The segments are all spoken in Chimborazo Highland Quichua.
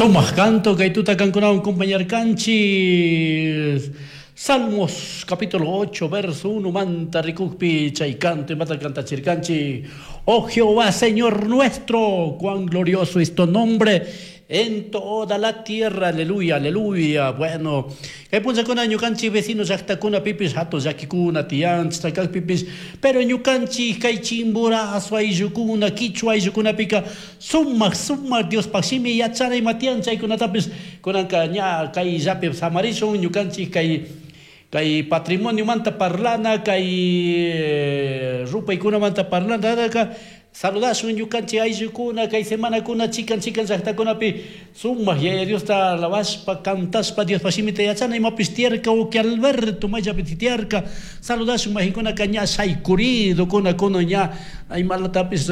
Sumaq canto kay tuta kankunawan compañarkanchis. Salmos capítulo 8 verso 1 manta rikukpi chay canto imata kantachirkanchik. Oh Jehová, Señor nuestro, cuán glorioso es tu nombre en toda la tierra. Aleluya, aleluya. Bueno, kay punllakuna ñukanchik vecino llaqtakunapipis hatun llakikuna tiyan, kaqpipis, pero ñukanchik kay Chimborazo ayllukuna, Quichua ayllukunapika sumaq sumaq Diospaq shimi yachana ima tiyan chaykunatapis kunanka ña kay llapi samarishun ñukanchik kay patrimonio-manta parlana, kay rupaykunamanta parlana, saludashun ñukanchik ayllukuna kay semanakuna chikan chikan llaqtakunapi sumaq Yaya Diosta alabashpa cantashpa Diospaq shimita yachana imapis tiyarka uki Alberto mayllapi tiyarka saludashun majikunaka ña shaykuridukuna kunan ña imalatapis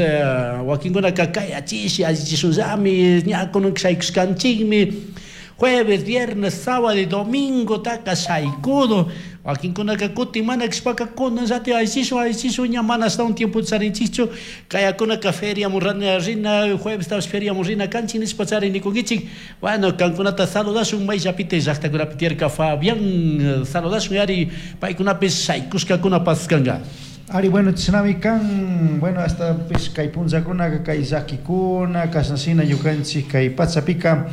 wakinkunaka kayachishi allichishunllami ña kunan shaykushkanchikmi jueves, viernes, sábado y domingo taka shaykudo wakinkunaka kutin mana kashpaka kunan llati allichishun allichishun ña mana ashtawan tiempo charinchikchu kayakunaka feriamun rina jueves feriamun rina kanchik nishpa charinikunkichik. Bueno, kankunata saludashun mayllapita llaqtakunapi tiyarka Fabián saludashun ari paykunapis shaykushkakuna paskanka. Ari, bueno, chishnami kan, bueno, hasta pues kay punllakunaka kay llakikuna kashnashina ñukanchik kay pachapika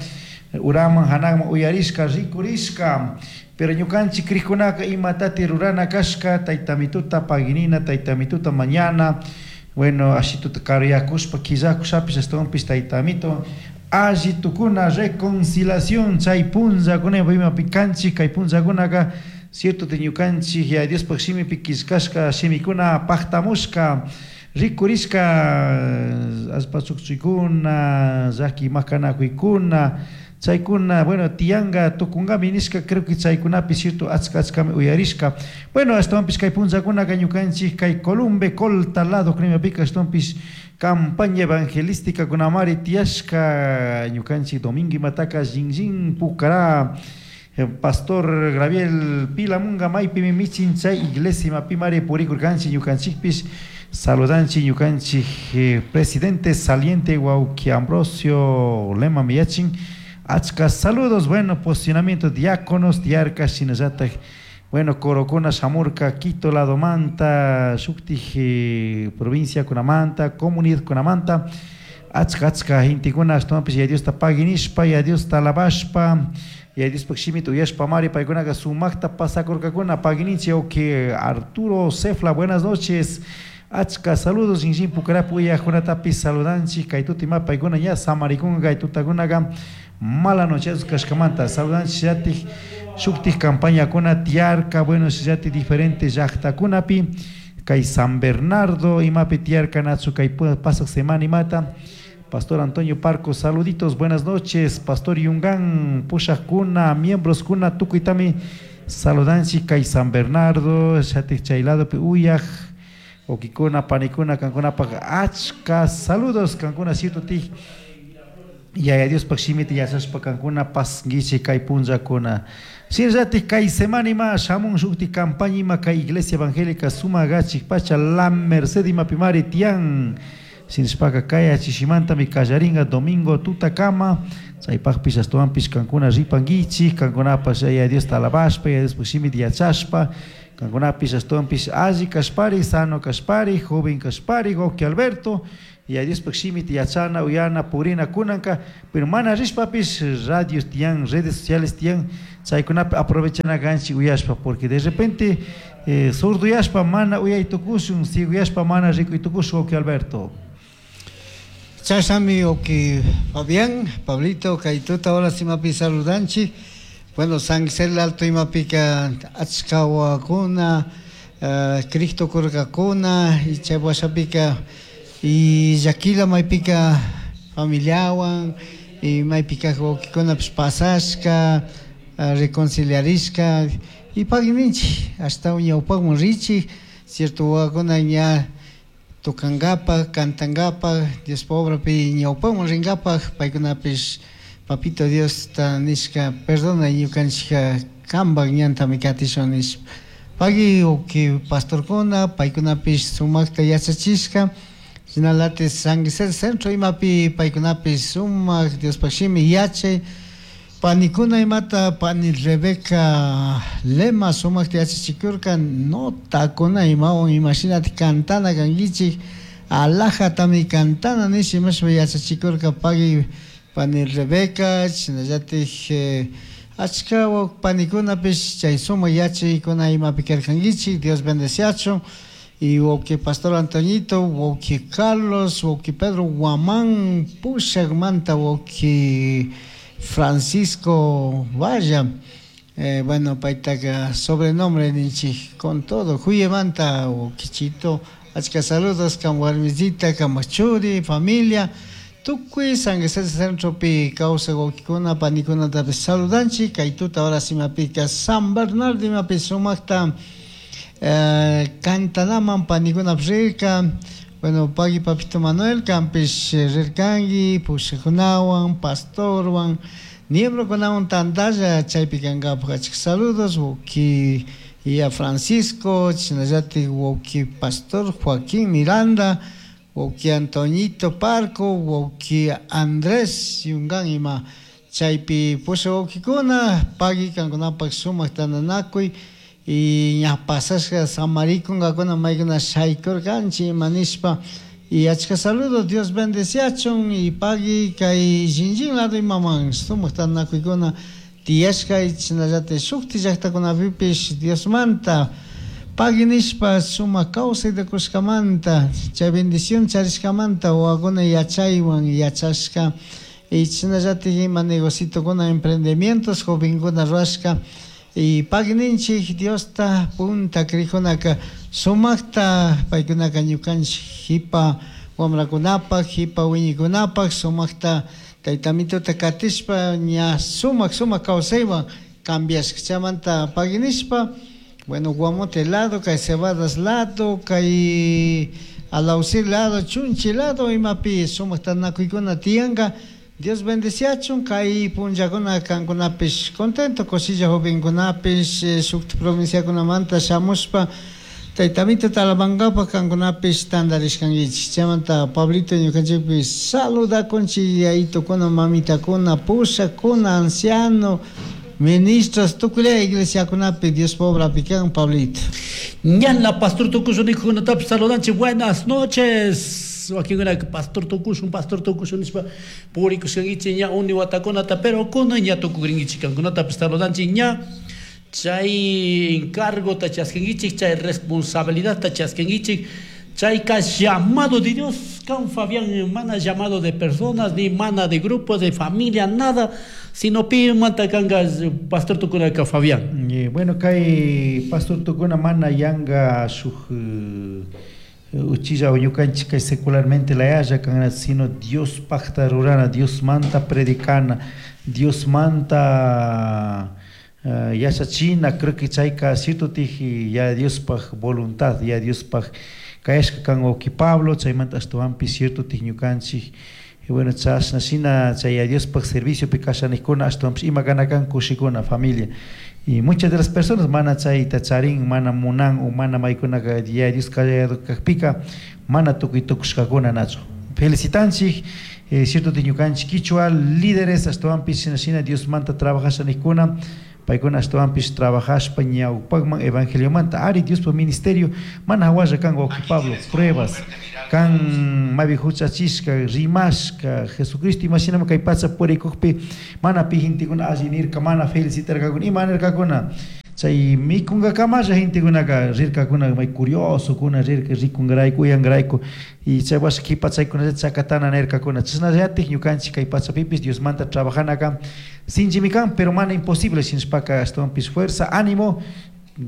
uraman hanakman uyarishka rikurishka, pero ñukanchik krikkunaka imatati rurana kashka tayta mituta paginina tayta mituta mañana, bueno, ashituta karuyakushpa killakushapis ashtawanpis tayta mito alli tukuna reconciliación chay punllakuna imapi kanchik kay punllakunaka cierto te ñukanchik ya Diospaq shimipi killkashka shimikuna paqtamushka rikurishka allpa chukchuykuna llaki makanakuykuna chaykuna, bueno, tiyanka tukunkami nishka, creo que chaykunapi cierto achka achkami uyarishka. Bueno, ashtawanpis kay punllakunaka ñukanchik kay Columbe Colta lado krimapika ashtawanpis campaña evangelística kunamari tiyashka ñukanchik domingo imataka Shinllin Pucará Pastor Gabriel Pilamunga maypimi michin chay iglesia imapimari purikurkanchik ñukanchikpis saludanchik ñukanchik presidente saliente wawki Ambrosio Lema miyachin achka saludos, bueno, posicionamiento diáconos tiyarka shinallatak, bueno, corokuna shamurka Quito ladomanta shuktik provincia kunamanta comunidad kunamanta achka achka gentekuna ashtawanpish Yaya Diosta paginishpa Yaya Diosta alabashpa Yaya Diospaq shimita uyashpa mari paykunaka sumakta pasakurkakuna pagininchik wawki Arturo Cefla, buenas noches, achka saludos Shinllin Pucarapi uyajkunatapis saludanchik kay tuta ima paykuna ña samarikunka kay tutakunaka mala noche kashkamanta saludanchik llatik shuktik campañakuna tiyarka, bueno, llatik diferentes llaqtakunapi kay San Bernardo imapi tiyarka nachu kay pasaq semana imata Pastor Antonio Parco, saluditos, buenas noches. Pastor Yungan, pushakuna, miembros kuna, tukuytami saludanchik kay San Bernardo, shatik chay ladopi uyaj, wawkikuna, panikuna, kankunapaq achka saludos, kankuna cierto tik Yaya Diospaq shimita yachashpa kankuna pasnkichik kay punllakuna. Shinallatik kay semana ima shamun shuktik campaña ima kay Iglesia Evangélica Sumagachik pacha La Merced imapimari tiyan. Shinashpaka kay achishimantami kallarinka domingo tutakama chaypaqpish ashtawanpish kankuna ripankichik kankunapash Yaya Diosta alabashpa Yaya Diospaq shimita yachashpa kankunapish ashtawanpish alli kashpari sano kashpari joven kashpari wawki Alberto Yaya Diospaq shimita yachana uyana purina kunanka pero mana rishpapish radios tiyan redes sociales tiyan chaykunapi aprovechana kanchik uyashpa porque de repente surduyashpa mana uyay tukushun ciegoyashpa mana rikuy tukushun wawki Alberto. Chashnami wawki Fabián, Pablito kay tuta horas imapi saludanchik. Bueno, San Gisel Alto imapika achka wawakuna Cristo kurkakuna y chay washapika y llakila maypika familiawan y maypika wawkikunapish pasashka reconciliarishka y pagui ninchik ashtawan ñawpakman richik cierto wawakuna ña tocangapak, cantangapak, Diospa obrapi ñawpakman ringapak paykunapish papito Diosta nishka perdona ñukanchika kanpak ñantami katishun nishpa pagui wawki pastorkuna paykunapish sumakta yachachishka. Shinalatik San Gisel Centro imapi paykunapish sumak Diospaj shimi yachay panikuna imata pani Rebeca Lema sumakta yachachikurka notakuna imawan imashinatik cantana kankichik alajatami cantana nish imashpa yachachikurka pagui pani Rebeca shinallatik achka panikunapish chay sumak yachaykuna imapi karkankichik Dios bendeciachun. Y wawki Pastor Antoñito, wawki Carlos, wawki Pedro Guamán, Pushakmanta, wawki Francisco Valla, bueno, paytaka sobrenombre ninchik con todo, Juyemanta, wawkichito, achka saludos kan warmisita, kan churi, familia, tukuy San Gisel Centropi kawsak wawkikuna, panikunatapish saludanchik, kay tuta ahora simapika San Bernardo imapi sumakta cantanaman panikuna rirka, bueno, pagui papito Manuel, kampish rirkanki, pushakunawan, pastorwan, miembrokunawan tantalla chaypi kankapak achka saludos, wawki ya Francisco, chinallatik wawki Pastor Joaquín Miranda, wawki Antoñito Parco, wawki Andrés Yungan ima chaypi pusha wawkikuna, pagui kankunapak sumak tantanakuy y ña pasashka samarikunkakuna maykuna shaykurkanchik ima nishpa y achka saludos Dios bendeciachun y pagui kay shinlli lado imaman sumak tantanakuykuna tiyashka chashnallatik shukti llaktakunapipish Diosmanta pagui nishpa sumak kawsayta kushkamanta chay bendición charishkamanta wawakuna yachaywan yachashka y chashnallatik ima negocitokuna emprendimientos jovenkuna rurashka y pagui ninchik Diosta punta crijunaka sumakta paykunaka ñukanchik jipa wamrakunapak jipa wiñikunapak sumakta taytamituta katishpa ña sumak sumak kawsaywan cambiashka chaymanta pagui nishpa bueno Guamote lado kay Cebadas lado kay Alaucir lado Chunchi lado imapi sumak tantanakuykuna tiyanka Dios bendeciachun kay punllakuna kankunapish contento kushilla jovenkunapish shukti provinciakunamanta shamushpa taytamituta alabankapak kankunapish tantarishkankichik chaymanta Pablito ñukanchikpish saludakunchik yayitukuna mamitakuna pushakuna anciano ministros tukuy iglesiakunapi Diospa obrapi kan Pablito. Ñala pastor tukushun nikukunatapish saludanchik buenas noches. Wakinkuna pastor tukushun pastor tukushun nishpa purikushkankichik ña uni watakunata pero kunan ña tukukrinkichik kankunatapish saludanchik ña chay encargota chaskinkichik chay responsabilidadta chaskinkichik chayka llamado de Dios kan Fabián mana llamado de personas ni mana de grupo de familia nada sino pi manta kanka pastor tukunaka Fabián. Bueno kay pastor tukuna mana yanga shuk uchilla ñukanchik kay secularmente layalla kan sino Dios pacta rurana Dios manta predicana Dios manta yachachina creo que chayka cierto tiji ya Diospaj voluntad ya Diospaj kayashka kan wawki Pablo chaymanta ashtawanpish cierto tij ñukanchik y bueno chashna shina chay ya Diospaj serviciopi kashanikuna ashtawanpish ima kana kan kushikuna familia y muchas de las personas mana chayta charin mana munan o mana maykunaka ya Dios kallado kakpika mana tukuy tukushkakuna nachu felicitanchik cierto tij ñukanchik kichwa líderes ashtawanpish shina shina Diosmanta trabajashanikuna paykuna ashtawanpish trabajashpa ñawpakman evangeliomanta ari Diospa ministerio mana hawalla kan wawki Pablo pruebas kan maypi huchachishka rimashka Jesucristo imashinami kay pacha purikukpi mana pi gentekuna alli nirka mana felicitarkakuna ima nirkakuna chay mikunkakamalla gentekunaka rirkakuna may curiosokuna rirka rikunkarayku uyankarayku y chay washa kipa chaykunallata chakatana nirkakuna chashnallatik ñukanchik kay pachapipish Diosmanta trabajanaka sinchimi kan pero mana imposible shinashpaka ashtawanpish fuerza ánimo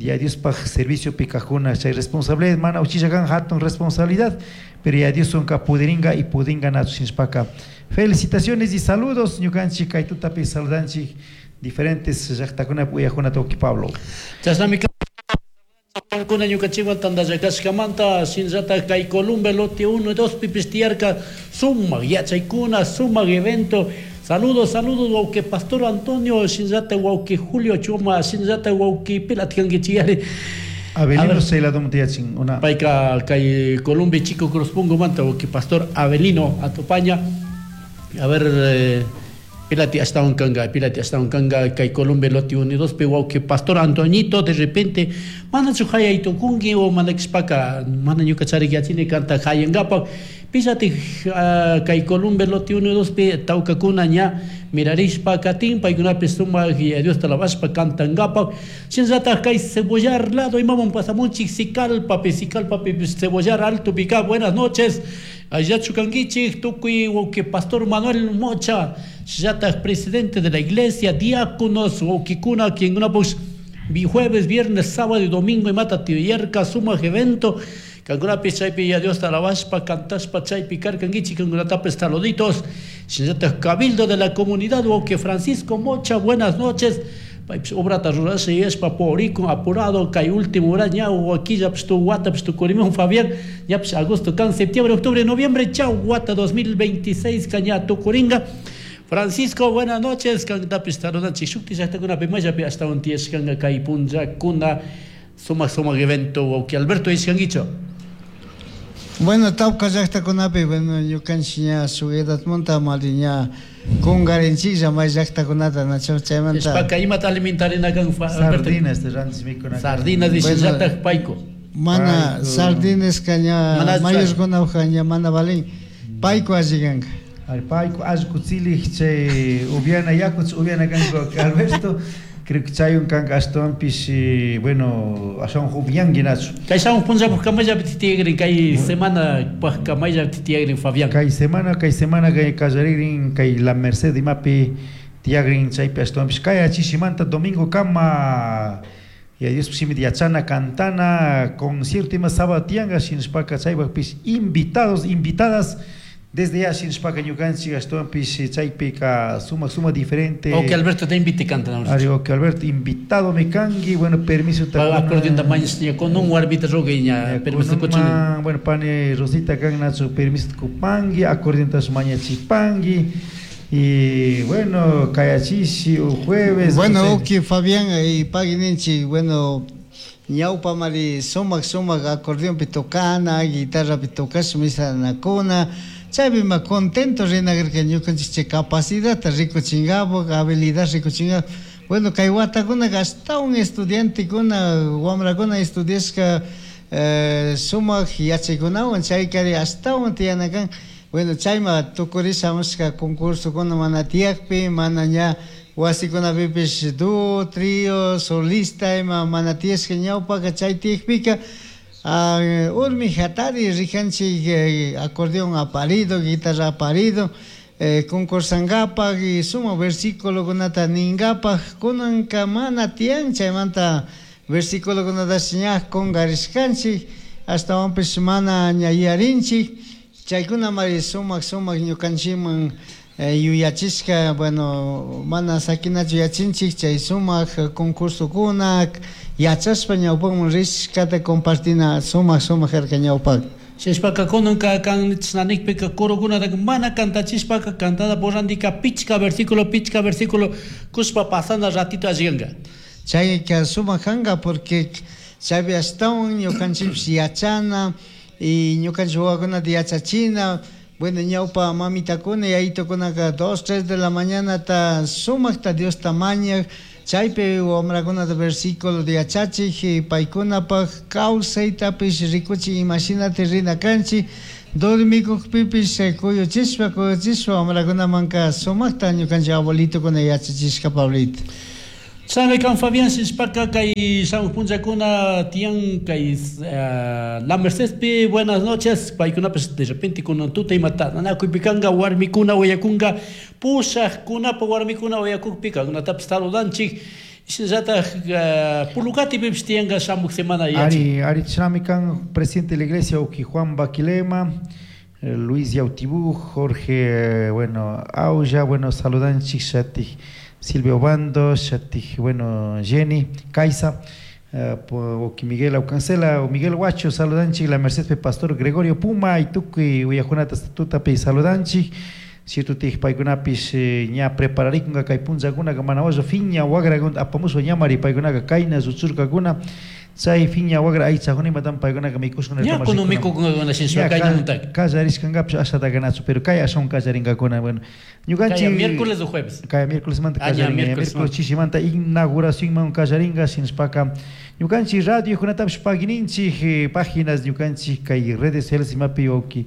ya Diospaj serviciopi kajkuna chay responsabilidad mana uchilla kan hatun responsabilidad pero ya Dioswanka pudiringa y pudinga nachu shinashpaka felicitaciones y saludos ñukanchik kay tutapi saludanchik diferentes llaqtakunapi uyajkunata wawki Pablo. Chashnami kuna ñukanchikwan tantallakashkamanta shinallata kay Columbe lote 1 y 2 pipish tiyarka sumak yachaykuna sumak evento. Saludos, saludos, wawki Pastor Antonio, shinallata wawki Julio Chuma, shinallata wawki pilat kankichiyari. Avelino Ceiladom tiyachin una. Payka kay Colombia Chico Cruzpungo manta wawki pastor Avelino Atopaña. A ver, pilati ashtawan kanga, pilati ashtawan kanga kay Colombia Lote Unidos pe wawki pastor Antoñito de repente manachu hayay tukunki o mana kishpaka mana ñuka charik yachini kanta hayangapak pillati kay Colombia Lote Unidos pe tawkakuna ña mirarishpa katin paykunapi sumak Diosta alabashpa kantangapak shinallatak kay Cebollar lado imaman pasamunchik Sicalpapi, Sicalpapi Cebollar Alto pika buenas noches. Allachu kankichik tukuy wawki pastor Manuel Mocha shinallatak presidente de la iglesia, diáconos wawkikuna quienkuna jueves, viernes, sábado y domingo imata tiyarka sumak evento kankunapi chaypi ya Diosta alabashpa cantashpa chaypi karkankichik kankunatapis saluditos shinallatak cabildo de la comunidad wawki Francisco Mocha buenas noches. Paypis obrata rurasha yashpa purikun apurado kay último hora ña wakillapish tu watapish tukurimun Fabián ñapish agosto kan septiembre, octubre, noviembre chau wata 2026 ka ña tukuringa. Francisco, buenas noches. Kantapis saludanchik shukti llaqtakunapi mayllapi ashtawan tiyashkanka kay punllakuna sumak sumak evento wawki Alberto ishkankichu. Bueno, tawka llaqtakunapi, bueno, ñukanchik ña shuk edadmanta mali ña kungarinchiklla may llaqtakunata nacho chaymanta. Ishpaka imata alimentarina kan Alberto? Sardinas te rantis mikuna. Sardinas dishinllatak payku. Mana sardinas ka ña mayorkunapaq ña mana valin. Payku alli kanka. Ari payku allku tzilij chay upiana yaku upiana kanku Alberto. Creo que chayun kanka ashtawanpish bueno ashawan hupiyanki nachu. Kay shamuq punllapaq kamayllapi tiyagrin kay semana paq kamayllapi tiyagrin Fabián. Kay semana kay kallarigrin kay La Merced imapi tiyagrin chaypi ashtawanpish kay achishimanta domingo kama ya Dios shimita yachana cantana concierto ima sábado tiyanga shinashpaka chaypaqpish invitados invitadas desde ya shinashpaka ñukanchik ashtawanpish chaypika sumak sumak diferente. Ok Alberto te invite canta. Ari ok Alberto invitado me kanki bueno permiso ta. Acordeón ta mañas ña con un warbita rogue ña permiso kuchun. Bueno pane Rosita kan nachu permiso kupangi acordeón ta mañachipangi y bueno kayachishi o jueves. Bueno ok Fabián y pagininchi bueno ñawpa mari sumak sumak acordeón pi tocana guitarra pi tocash misanakuna. Chaypi ma contento rinakarka ñukanchik chay capacidad rikuchinkapak habilidad rikuchinkapak. Bueno kay watakunaka ashtawan estudiantekuna wamrakuna estudiashka sumak yachaykunawan chaykari ashtawan tiyana kan. Bueno chayma tukurishamushka concursokuna mana tiyakpi mana ña wasikunapipish dúo, trío, solista ima mana tiyashka ñawpaka chay tiyakpika urmi hatari rikanchik acordeón aparido, guitarra aparido, concursankapak y suma versículokunata ninkapak kunanka mana tiyan chaymanta versículokunatash ña kunkarishkanchik ashtawanpish mana ña yuyarinchik chaykunamari sumak sumak ñukanchikman yuyachishka bueno mana sakinachu yachinchik chay sumak concursokuna yachashpa ñawpakman rishkata compartina sumak sumak karka ñawpak. Shishpaka kunanka kan chashnanikpika kurukunataka mana kantachishpaka cantada porrandika pichka versículo kushpa pasana ratito alliganka. Chayka sumak kanka porque chaypi ashtawan ñukanchikpish yachana y ñukanchik wawakunata yachachina. Bueno, ñawpa mamitakuna yayitukunaka 2, 3 de la mañana ta sumakta Diosta mañak chaypi wamrakunata versículo de yachachik paykunapaq kawsaytapish rikuchik imashinata rina kanchik dormikukpipish kuyuchishpa kuyuchishpa wamrakunamanka sumakta ñukanchik abuelitukuna yachachishka Pablito. Sabe kan Fabián shishpaka kay shamuq punllakuna tiyan kay La Mercedpi buenas noches paykunapish de repente kunan tuta imata nanakuypi kanka warmikuna willakunka pushaqkunapa warmikuna willakukpi kankunatapish saludanchik shinallatak Pulukatipipish tiyanka shamuq semana yachin. Ari chinami kan presidente de la iglesia uki Juan Baquilema Luis Yautibú, Jorge bueno Aulla bueno saludanchik shatik Silvio Bando, Shatij, bueno, Jenny, Caiza, Miguel Aucancela, o Miguel Huacho, saludanchik, la Merced Pastor Gregorio Puma, y tukuy uyajunata tutapi saludanchik, cierto tij paykunapish ña prepararikunka kay punllakuna manawayo fiña wagrakunata apamushpa ñamari paykunaka kayna lluchurkakuna. Chay fiña wagra aychakuna imatam paykunaka mikushkuna. Ña kuno mikukunkakuna shinashpa kaynamuntaka. Kallarishkankapish ashata nachu, pero kay ashawan kallarinkakuna. Bueno, ñukanchik Kaya miércoles o jueves. Kaya miércolesmanta Ah, ña, kallarinka, ña miércoles miércoles chishimanta inauguracionman kallarinka, shinashpaka ñukanchik radiokunatapish pagininchik, páginas ñukanchik kay redes sociales imapi wawki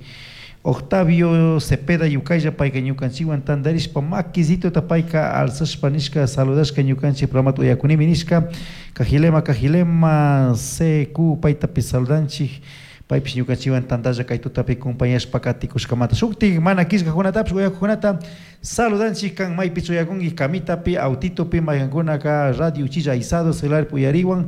Octavio Cepeda yukaylla payka ñukanchikwan tantarishpa makisitota payka alzashpa nishka saludashka ñukanchik programata uyakunimi nishka Cajilema Cajilema CQ paytapish saludanchik paypish ñukanchikwan tantalla kay tutapi compañashpa katikushkamanta shuktik mana killkakunatapish uyakukunata saludanchik kan maypichu uyakunki kamitapi autitopi maykankunaka radio uchilla aizado celularpi uyariwan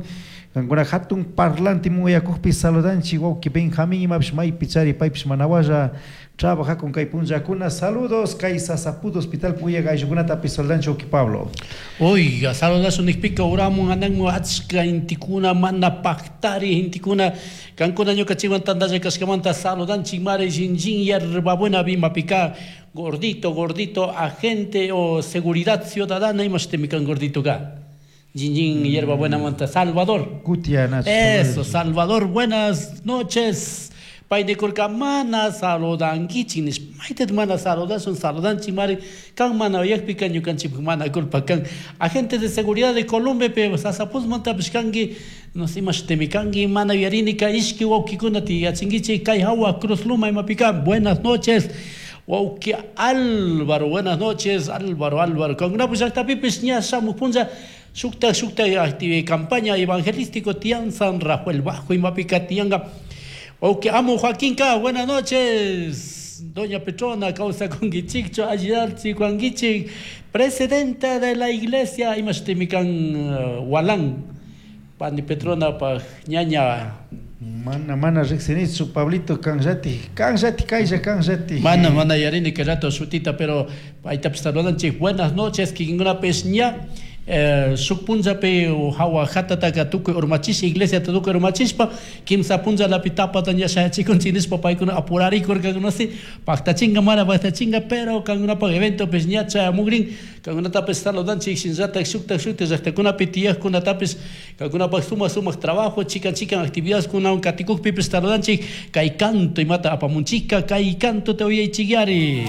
kankuna hatun parlante uyakukpi saludanchik wawki Benjamín imapish maypi chari paypish manawalla trabajakun kay punllakuna saludos kay Sasaput hospital uyak ayllukunatapish saludanchik wawki Pablo. Oiga, saludazo nikpika uramun ananmu achka intikuna mana paktari intikuna kankuna ñukanchikwan tantalla kashkamanta saludanchik mari shinjin yerbabuena bimapika gordito gordito agente o seguridad ciudadana imashtimi kan gordito ka Jinjin Hierbabuena manta Salvador. Kutia Nacho. Eso, Salvador, buenas noches. Paynikurka mana saludankichik nishpa maytat mana saludashun saludanchik mari kan mana uyakpika ñukanchikpak mana culpa kan agente de seguridad de Colombia pe Sasapuzmantapish kanki no sé imashtimi kanki mana uyarinika ishki wawkikuna tiyachinkichik kay hawa Cruz Luma imapika buenas noches wawki Álvaro, buenas noches Álvaro, Álvaro kankunapish llaktapipish ña shamuj punlla shukta shukta campaña evangelístico tiyan San Rafael Bajo imapika tiyanka. Ok, amo Joaquín K, buenas noches. Doña Petrona, causa con Guichicho, Ayalchi, Juan Guichi, presidenta de la iglesia, imashtimikan Walán, Pani Petrona, pa ñaña. Mana, mana riqsinichu Pablito kanllati, kanllati kaylla kanllati. Mana, mana yarini que rato shutita, pero paytapish saludanchik. Buenas noches, kikinkunapis ña. Shuk punllapi hawa hatataka tukuy urmachisha iglesiata tukuy urmachishpa kimsa punllalapi tapata ña shayachikunchik nishpa paykuna apurarikurkakuna si paktachinga mana paktachinga pero kankunapak eventopish ña chayamukrin kankunatapish saludanchik shinallatak shuktak shuktak llaktakunapi tiyakkunatapish kankunapak sumak sumak trabajo chikan chikan actividadkunawan katikukpipish saludanchik kay canto imata apamunchika kay canto te uyaychikyari.